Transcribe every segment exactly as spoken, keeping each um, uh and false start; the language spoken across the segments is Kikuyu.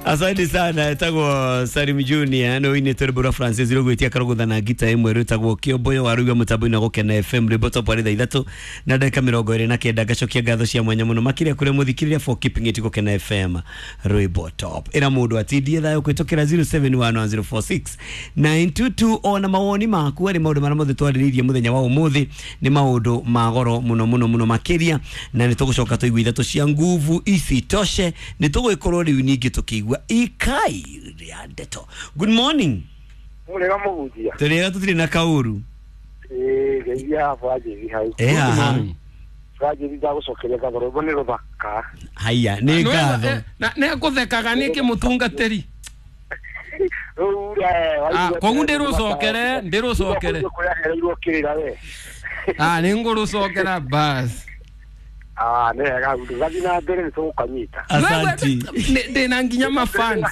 Asante sana, etagwo Salim Junior no ine Terbura Francis rugwitia karugutha na ngita imwe rutagwo Kiomboyo waruga mutambo-inĩ Gũkena F M rwimbo top arĩ thaa ithatũ na ndagĩka mĩrongo ĩrĩ na kenda. Ngacokia ngatho cia mwanya mũno makĩria kũrĩ mũthikĩrĩria for keeping it Gũkena F M rwimbo top. Ĩra mũndũ atindie thayũ kũhĩtũkĩra zero seven one one zero four six nine two two ona mawoni maku arĩ maũndũ marĩa mothe twarĩrĩirie mũthenya wa ũmũthĩ nĩ maũndũ ma goro mũno mũno mũno makĩria, na nĩ tũgũcoka tũigue ithatũ cia nguvu isitoshe nĩ tũgũgĩkorwo rĩu ningĩ tũkĩigua ikai rĩa ndeto. Good morning. Murega muhunjia. Tũrĩega tũtirĩ na kaũru. Ĩĩ ngeithia Banjĩri hau. Ĩ haha. Banjĩri ndagũcokeria ngatho rwĩmbo nĩ rũthaka. Haiya nĩ ngatho. Nĩ ngũthekaga nĩkĩ mũtungatĩri? Koguo ndĩrũcokere ndĩrũcokere. Ah nĩ ngũrũcokera bas. Ah nĩ wega gathiĩ na mbere nĩ tũgũkanyita. Asanti. Ndĩna nginya mafans.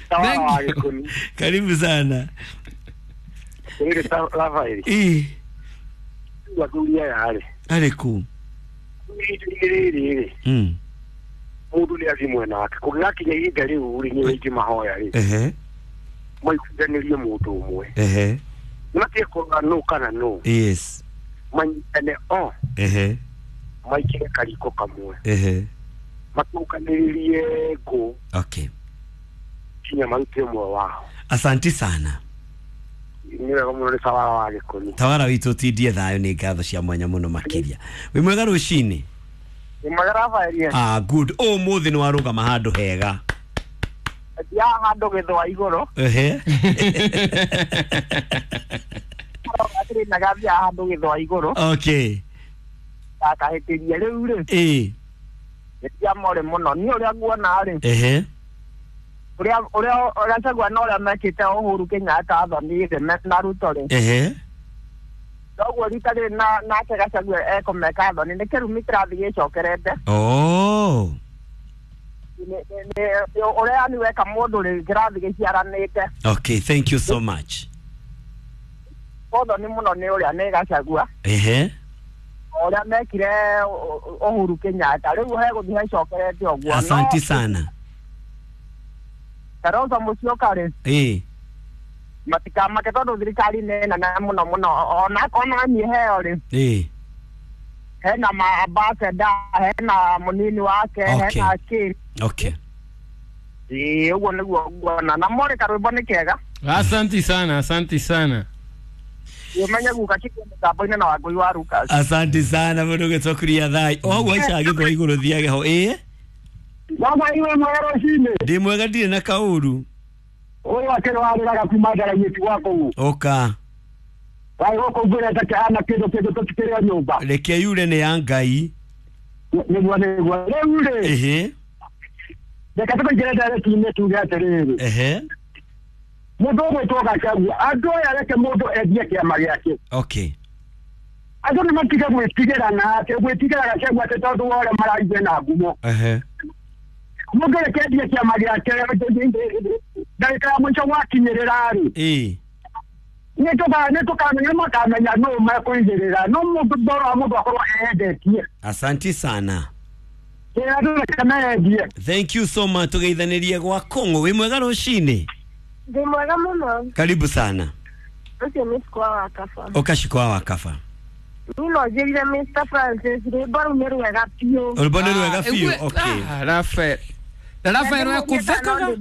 Thank you. Karibu sana. Rafael. Wakuria yale. Ariku. Rĩrĩ. Mm. Mũndũ nĩ athiĩ mwena wake. Kũngĩgakinya ihinda rĩu rĩ nĩ aingĩ mahoya rĩ. Ehe. Maiguithanĩrie mũndũ ũmwe. Ehe. Nĩmatige kũrora nũ kana nũ. Yes. Manyitane o. Ehe. Maikĩre kariko kamwe. Ehe. Matũkanĩrĩrie ngũ. Okay. Kinya marute ũmwe wao. Asanti sana. Nĩ wega mũno nĩ tawara wa Gĩkũyũ. Tawara witũ tindie thayũ nĩ ngatho cia mwanya mũno makĩria. Wĩ mwega rũcinĩ? Wĩ mwega Rafael. Ah good. Ũmũthĩ nĩ warũgama handũ hega. Ya handũ gĩthũa igũrũ. Ehe. Atĩrĩ handũ gĩthũa igũrũ. Okay. Ndakahĩtĩria rĩu rĩ. Ĩĩ. Nĩ more mũno. Niĩ ũrĩa nguona rĩ. Ehe. Ũrĩa ũrĩa Gachagua na ũrĩa mekĩte Uhuru Kenyatta athonire na Ruto rĩ. Ehe. Koguo rita rĩrĩ na nake Gachagua ekũmeka athoni nĩ kĩrumi kĩrathiĩ gĩcokerete. Oh. Ũrĩa yani weka mũndũ rĩ kĩrathiĩ gĩciaranĩte. Okay, thank you so much. Ũthoni mũno nĩ ũrĩa nĩ Gachagua. Ehe. Ũrĩa mekire Uhuru Kenyatta rĩu hegũthiĩ hacokerete ũguo. Asante sana. Kalonzo Musyoka rĩ. Ĩĩ. Matikamake tondũ thirikari nĩ nene mũno mũno ona ona niĩ heo rĩ. Ĩĩ. Hena ma ambassador, hena mũnini wake, hena kĩ. Okay. Ĩĩ ũguo nĩguo nguona na more karwĩmbo nĩ kega. Asante sana, asante sana. Umenye guka kiko mũtambo-inĩ na Wangũi wa Lucas. Asante sana mũndũ ũgĩtũkuria thai. O hau aica gĩthũa igũrũ thiage ho. Ĩĩ. Baba iwe mwega rũcinĩ. Ndĩ mwega ndirĩ na kaũru. Ũyũ akĩrwarĩraga kuma ndaragia ti gwa kũu. Ũka. Wai gũkũ mbura ĩtakĩhana kĩndũ kĩndũ tũtikĩrĩ nyũmba. Reke yure nĩ ya Ngai. Nĩguo nĩguo. Rĩu rĩ. Ehe. Reke tũkũingĩre ndereti-inĩ tuge atĩrĩrĩ. Ehe. Mũndũ ũgwĩtwo Gachagua andũ aya reke mũndũ endie kĩama gĩake. Okay. Andũ nĩ matige gwĩtigĩra nake gwĩtigĩra Gachagua atĩ tondũ wa ũrĩa maraigua na ngumo. Ehe. Mũndũ reke endie kĩama gĩake ndagĩka ya mũico gwakinyĩrĩra rĩ. Ĩĩ. Nĩ tũkamenya makamenya nũ mekũigĩrĩra no mũndũ ndora mũndũ akorwo eyendetie. Asanti sana. Andũ reke meyendie. Thank you so much. Tũgeithanĩrie gwa Kong'o. Wĩ mwega rũcinĩ? Ndĩ mwega mũno. Karibu sana. Ũcio nĩ Shikwa wa Kaba. Ũka Shikwa wa Kaba. Niĩ no njĩrire Mister Francis rwĩmbo rũu nĩ rwega biũ. Rwĩmbo nĩ rwega biũ. Okay. Rafael. Na Rafael we kũthekaga.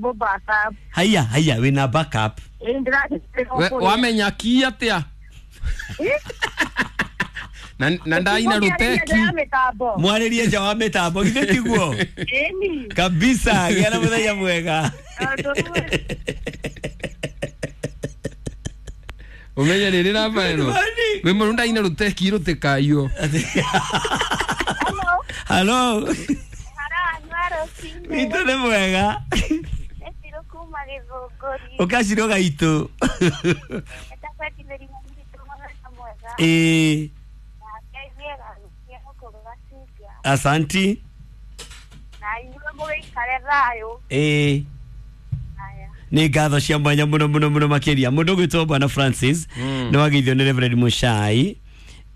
Haiya haiya wĩna backup. Wamenya ki atĩa? Na na ndaina ruteki. Mwarĩrie nja wa mĩtambo githĩ tiguo? Ĩni. Kabisa, gĩa na mũthenya mwega. Umenye rĩrĩ Rafael. Wĩ mũndũ ndaina ruteki rũtĩkaiywo. Hello. Witũ nĩ mwega. Ũkacirwo gaitũ. Ĩĩ. Asanti. Ĩĩ. Nĩ ngatho cia mwanya mũno mũno mũno makĩria. Mũndũ ũgwĩtwo Bwana Francis nĩ wageithio nĩ Reverend Muchai.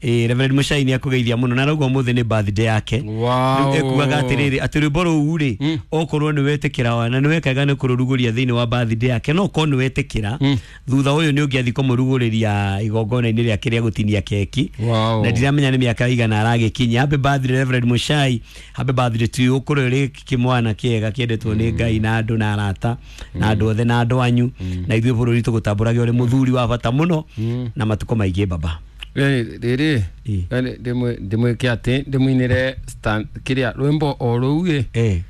Eh, Reverend Muchai nĩ akũgeithia mũno na rauga ũmũthĩ nĩ birthday yake. Wow. Rĩu ekuaga atĩrĩrĩ atĩ rwĩmbo rũu rĩ Mm. okorwo nĩ wetĩkĩra na nĩ wekaga nĩ kũrũrugũria thĩinĩ wa birthday yake no okorwo nĩ wetĩkĩra Mm. thutha ũyũ nĩ ũngĩathiĩ kũmũrugũrĩria igongona-inĩ rĩake rĩa gũtinia keki Wow. na ndiramenya nĩ mĩaka igana aragĩkinyia. Happy birthday Reverend Muchai, happy birthday to you. Ũkũrĩ ũrĩ kĩmwana kĩega kĩendetwo nĩ Ngai na andũ na arata na andũ othe na andũ anyu na ithuĩ bũrũri tũgũtambũrage ũrĩ mũthuri wa bata mũno na matukũ maingĩ baba. Rĩrĩ Ĩ. ndĩmwĩke atĩ ndĩmũinĩre stand- kĩrĩa rwĩmbo o rũu ĩ Eh.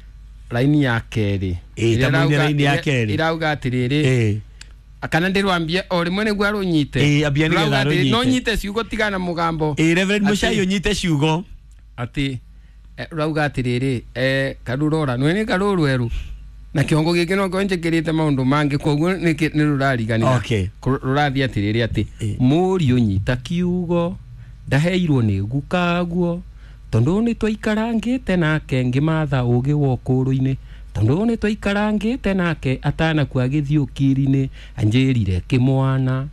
raini ya kerĩ Ĩ, ta Ĩrĩa mũinĩre ĩrauga- raini ya ĩrĩa- kerĩ. ĩrauga atĩrĩrĩ Eh. kana ndĩrwambie o rĩmwe nĩguo arũnyite Ĩ, ambia nĩgetha Rũrauga atĩrĩ, arũnyite. no nyite ciugo tigana mũgambo Ĩ, Reverend Atĩ- Muchai ũnyite ciugo. atĩ eh, rauga atĩrĩrĩ eh, karurora nwe nĩ karũrwerũ na kĩongo gĩkĩ no korwo njĩkĩrĩte maũndũ mangĩ koguo nĩ rũrariganĩra. Okay. Kũ- rũrathiĩ atĩrĩrĩ atĩ Ĩ. mũriũ nyita kiugo ndaheirwo nĩ gukaguo tondũ nĩ twaikarangĩte nake ngĩmatha ũgĩ wa ũkũrũ-inĩ tondũ nĩ twaikarangĩte nake atanakua agĩthiĩ ũkiri-inĩ anjĩrire kĩmwana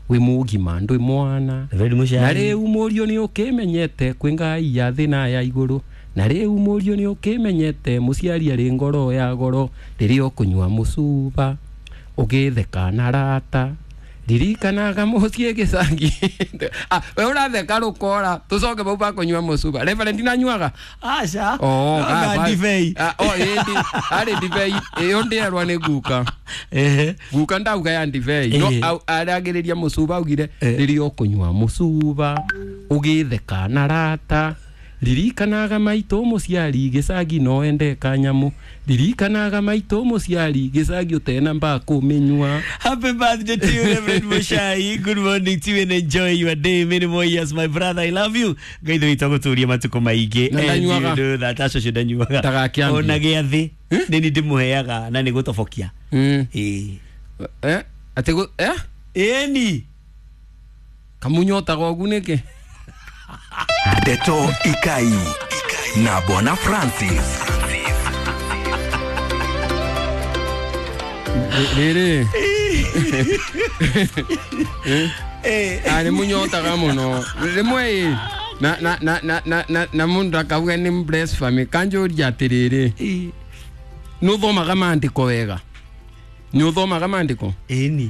wĩ mũgima ndwĩ mwana Reverend Muchai. na rĩu mũriũ nĩ ũkĩmenyete kwĩ ngai ya thĩ na ya igũrũ na rĩu mũriũ nĩ ũkĩmenyete mũciari arĩ ngoro ya goro rĩrĩa ũkũnyua mũcuba ũgĩtheka na rata ririkanaga mũciĩ gĩcangi. Ah, we ũratheka rũkora tũcoke bau bakũnyua mũcuba. Reverend nanyuaga? Aca. Oh, No, ah, na ba- ndibei. Ah, oh, ĩndi arĩ ndibei ĩyo ndĩerwa nĩ guka Ehe. guka ndauga ya ndibei no Eh. au- aragĩrĩria mũcuba augire Eh. rĩrĩa ũkũnyua mũcuba ũgĩtheka na rata ririkanaga maitũ mũciari gĩcagi no ende kanyamũ ririkanaga maitũ mũciari gĩcagi ũtena mbakũmĩnyua. Happy birthday to you, Reverend Muchai. Good morning to you and enjoy your day. Many more years, my brother. I love you. Ngai thĩ witũ agũtũrie matukũ maingĩ. Na And you ndanyuaga. know that. Aca ũcio ndanyuaga. Ndagakĩambie. Ona gĩathĩ nĩ niĩ ndĩmũheaga na nĩ gũtobokia. Mm. Ĩĩ. Eh, atĩ gũ- eh? Ĩni. Kamunyotaga ũgu nĩkĩ? Ndeto Ikai na Bwana Francis. Rĩrĩ Eh. Ah, nĩ mũnyotaga mũno rĩmwe ĩ na na na na na na na mũndũ akauga nĩ blasphemy kanjũria atĩrĩrĩ Ĩĩ. nĩ ũthomaga maandĩko wega nĩ ũthomaga maandĩko Ĩni.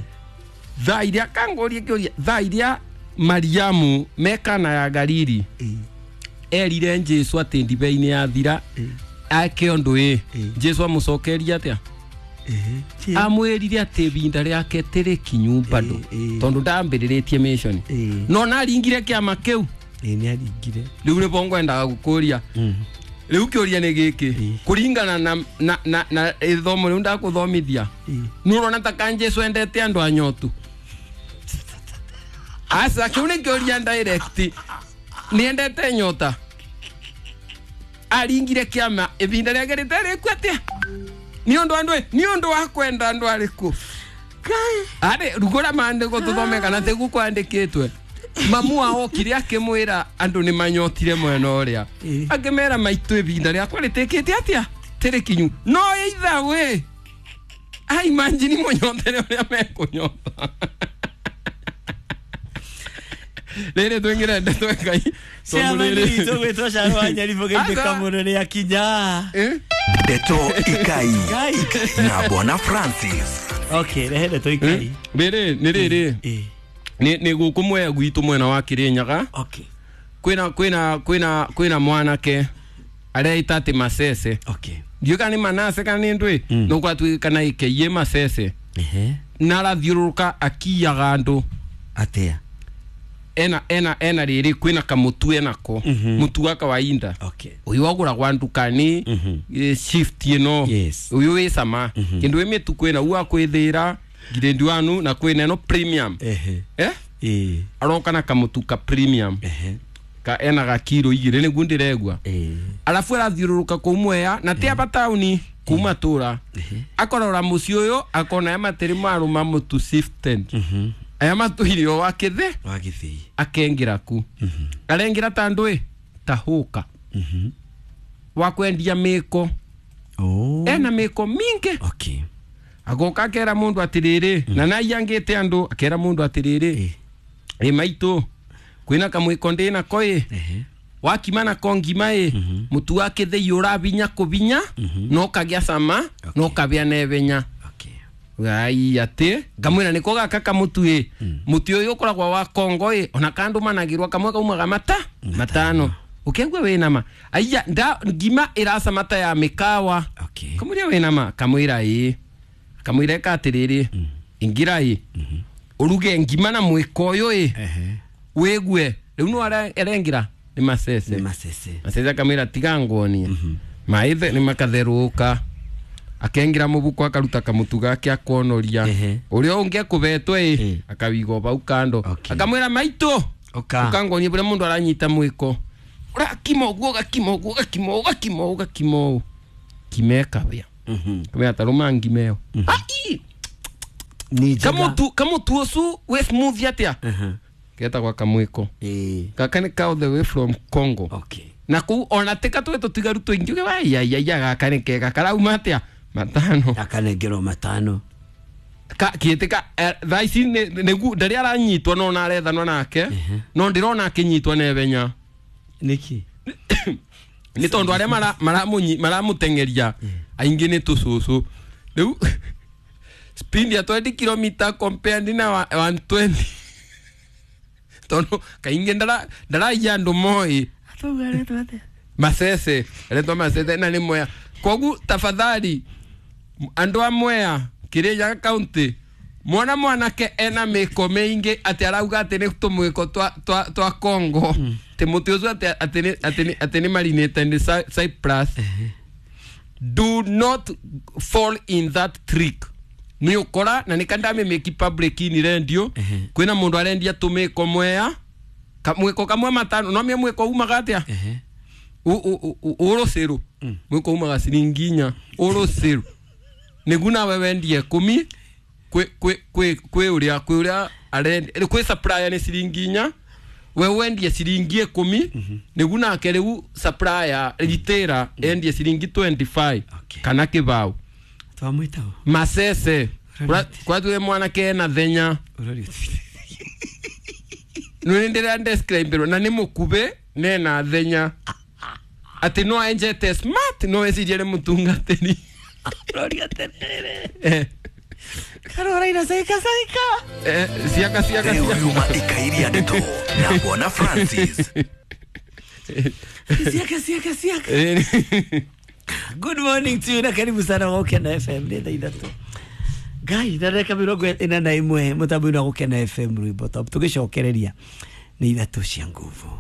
thaa iria kangũrie kĩũria thaa iria Mariamu mekana ya Galili Ĩĩ. erire Jesũ atĩ ndibei nĩ yathira ake ũndũ ĩ Ĩ. Jesũ amũcokeria atĩa Ĩĩ. amwĩrire atĩ ibinda rĩake tĩrĩ kinyu bado Ĩ, ĩ. tondũ ndambĩrĩrĩtie mission Ĩ. no naringire kĩama kĩu Ĩĩ nĩ aringire. rĩu nĩbo ngwendaga gũkũria rĩu kĩũria nĩ gĩkĩ Ĩ. kũringana na na na na ithomo rĩu ndakũthomithia Ĩ. nĩ ũrona ta ka Jesũ endete andũ anyotu aca kĩu nĩ kĩũria direct nĩ endete nyota aringire kĩama ibinda rĩake rĩtarĩku atĩa nĩ ũndũ andũ nĩ ũndũ wa kwenda andũ arĩkũ arĩ rugũra maandĩko tũthome kana tĩgu kwandĩkĩtwe mamu wao okire akĩmwĩra andũ nĩ manyotire mwena ũrĩa Ĩ. akĩmera maitũ ibinda rĩakwa rĩtĩkĩte atĩa tĩrĩ kinyu no either way ai imagine mũnyotere ũrĩa mekũnyota rĩrĩ twĩngĩre ndeto Ngai Chairman witũ gwĩtwo Caro wa Nyaribũ geithĩka Aca. mũno nĩ akinya. Eh? Ndeto Ikai Ngai. na Bwana Francis. Okay, rehe ndeto Ikai. Rĩrĩ nĩ rĩrĩ Ĩĩ. nĩ nĩ gũkũ mwea gwitũ mwena wa Kĩrĩnyaga Okay. kwĩna kwĩna kwĩna kwĩna mwanake areita atĩ Masese Okay. ndiũĩ kana nĩ Manase kana nĩ ndwĩ Mm. no gwatuĩka ikeiye Masese Ehe. na arathiũrũrũka akiyaga andũ Atĩa? ena ena ena rĩrĩ kwĩna kamũtu enako Mhm. mũtu wa kawaida Okay. ũyũ wagũragwa ndukani Mhm. eh, shift ĩno Yes. ũyũ wĩ cama kĩndũ wĩ mĩtu kwĩna u kwĩthĩra grade one na kwĩna ĩno premium Ehe. eh Ĩĩ. aroka na kamũtu ka premium Ehe. ka ena ga kiro igĩrĩ nĩguo ndĩregua Ĩĩ. arabu arathiũrũrũka kũu mwea na ti aba taũni kuma tũra akorora mũciĩ ũyũ akona aya matĩrĩ marũma mũtu sifted Mhm. aya matũire o wa kĩthĩ Wa gĩthĩi. akengĩra ku arengĩra ta ndũĩ ta hũka Mhm. wa kwendia mĩko Oh. ena mĩko mingĩ Okay. agoka akera mũndũ atĩrĩrĩ na naiangĩte andũ akera mũndũ atĩrĩrĩ Ĩĩ. ĩ maitũ Kwina kamwiko ndina ko ĩ Ehe. wakima na ko ngima ĩ mutu wa kĩthĩi ũrabinya kũbinya no kagĩa cama no kabĩa nebenya. Okay. Gai atĩ ngamwĩra nĩko gaka kamutu ĩ mutu ũyũ ũkoragwo wa Kongo ĩ ona kandu managirwo kamwe kaumaga mata matano ũkĩigua wĩna ma aiya nda ngima ĩracama ta ya mĩkawa. Okay. Kamwĩra wĩna ma kamwĩra ĩ kamwĩra ĩka atĩrĩrĩ ingĩra ĩ ũruge ngima na mwĩko ũyũ ĩ Ehe. wĩgue rĩu no arengĩra nĩ macece. Nĩ macece. Macece akamwĩra tiga nguonie maĩ nĩ makatherũka akengĩra mũbuko akaruta kamũtu gake akonoria Ehe. ũrĩa ũngĩ ekũbetwo ĩ Eh. akawiga bau kando. Okay. Akamwĩra maitũ Ũka. ũkangonie bũrĩa mũndũ aranyita mwĩko ũrakima ũguo ũgakima ũguo ũgakima ũũ ũgakima ũũ ũgakima ũũ ngima ĩkabĩa. Mhm. Kamwĩra tarũma ngima ĩyo. Ai! Ni njega. Kamutu kamutu ũcu wĩ smooth atĩa Aha. getagwa kamwĩko. Ĩĩ. Gaka nĩ ka all the way from Congo. Okay. Na kũu ona tä katwä tå tigaru tå ingä å waiaiaia gaka nä kega karauma atä a matano. Akanengerwo matano. Kä tä ka thaa ici nĩgu ndarĩ aranyitwo no na arethanwo nake no ndĩrona akĩnyitwo nebenya. Nĩkĩ? Nĩ tondũ arĩa mara- maramũnyi- maramũteng'eria aingĩ nĩ tũcũcũ rĩu speed ya twenty kilomita compared na wa- one twenty tondũ kaingĩ ndara- ndaraiya andũ moĩ. Atauga aretwo atĩa? Masese aretwo Masese na nĩ Mwea kogu tafadhali andũ a Mwea Kirinyaga county mwana mwanake ena mĩko mĩingĩ atĩ arauga atĩ nĩ tũmwĩko twa, twa, twa Congo atĩ mũtĩ ũcio atĩ atĩ nĩ- atĩ nĩ- atĩ nĩ marinĩte nĩ Cy- Cyprus. Do not fall in that trick nĩ ũkora na nĩ kandamĩmĩki public ini rendio kwĩna mũndũ arendia tũmĩko Mwea Ka- mwĩko kamwe matano no mie mwĩko umaga atĩa Ehe. ũrũcĩrũ mwĩko umaga ciringi inya ũrũcĩrũ nĩgu nawe wendie ikũmi kwĩ kwĩ kwĩ kwĩ ũrĩa kwĩ ũrĩa arendia kwĩ supplier nĩ ciringi inya we wendie ciringi ikũmi nĩgu nake rĩu supplier retailer endie ciringi twenty five Okay. kana kĩbaũ. Twamwĩta ũ? Masese kwatuwe mwanake ena thenya. Ũroria ũtwĩre. Nĩ ndĩra describe na nĩ mũkubĩ nena thenya atĩ no enjete smart no ecirie nĩ mũtungatĩri. Ũroria atĩrĩrĩ. Eh, Karora ina saika saika. eh, ciaka ciaka Rĩu ciaka riuma ikairia ndeto na Bwana Francis. Siaka siaka siaka. Eh, Good morning to you na karibu sana Gũkena F M nĩ thaa ithatũ. Ngai na ndagĩka mĩrongo ĩna na ĩmwe mũtambo-inĩ wa Gũkena F M rwĩmbo top tũgĩcokereria nĩ ithatũ cia nguvu.